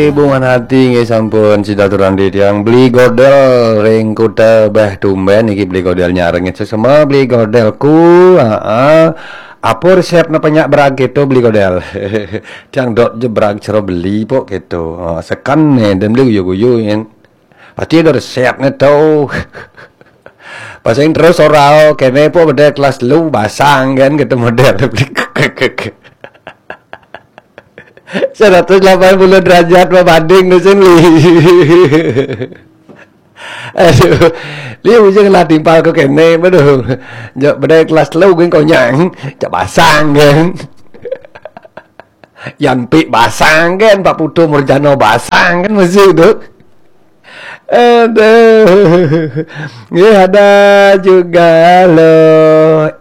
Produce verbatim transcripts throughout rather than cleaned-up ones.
Hubungan hati nggih sampun sida turun di tiang beli godel ring kuta bah tumben iki beli godel nyareng sesama beli godelku. Heeh. Apa resepnya penyak berag gitu beli godel? Tiang dot je berag cero beli pok gitu. Oh, sekan nih dan beli guyu-guyu yen. Pasti ada resepnya tau. Pasang terus orau kene pok beda kelas lu basang kan gitu model. Seratus delapan puluh derajat berbanding di sini. Aduh, dia ujung lah timpal ke kene, aduh. Jak bedai kelas telu geng konyang, cak basang kan. Yan Pik basang kan, Pak Putu Murjano basang kan masih tu. Aduh. Nggih ada juga lo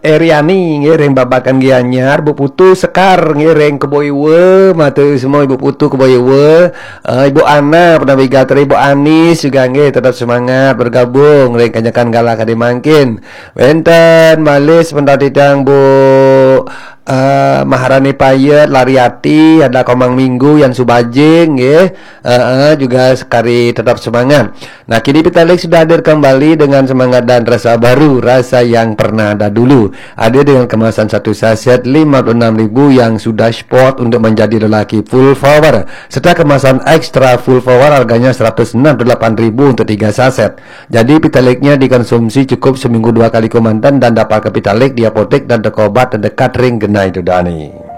Eriani nggih ring Babakan Gianyar, Bu Putu Sekar nggih ring Keboiwa, matur semua Ibu Putu Keboiwa. Uh, Ibu Ana pernah begitu, Ibu Anis juga nggih tetap semangat bergabung ring kanyakan galah kadi mangkin. Wenten malih sebentar titang Bu uh, Maharani Payet, Lariati, ada Komang Minggu yang Subajing nggih. Uh, uh, juga sekali tetap semangat. Nah, kini Pitalik sudah hadir kembali dengan semangat dan rasa baru, rasa yang pernah ada dulu. Hadir dengan kemasan satu saset lima puluh enam ribu yang sudah spot untuk menjadi lelaki full power, serta kemasan ekstra full power harganya seratus enam puluh delapan ribu untuk tiga saset. Jadi Pitaliknya dikonsumsi cukup seminggu dua kali kemanten dan dapatkan Pitalik di apotek dan toko obat terdekat ring genai tu dani.